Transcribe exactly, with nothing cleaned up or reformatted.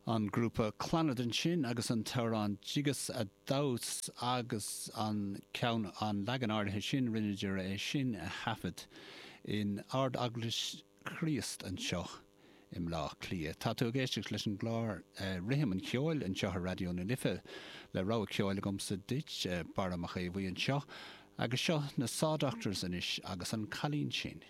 An grúpa Clannad ansin agus an t-amhrán Jigus a Damhas agus an ceann an leagan áirithe sin rinneadar é sin a thaifead in Ard-Eaglais Chríost anseo i mBleá Cliath. Tá tú ag éisteacht leis an gclár eh, Rithim an Cheoil anseo ar Raidió na Life le rogha ceoil agamsa duit eh, Barra Mac Aodha anseo, agus seo na Saw Doctors anois agus an cailín sin.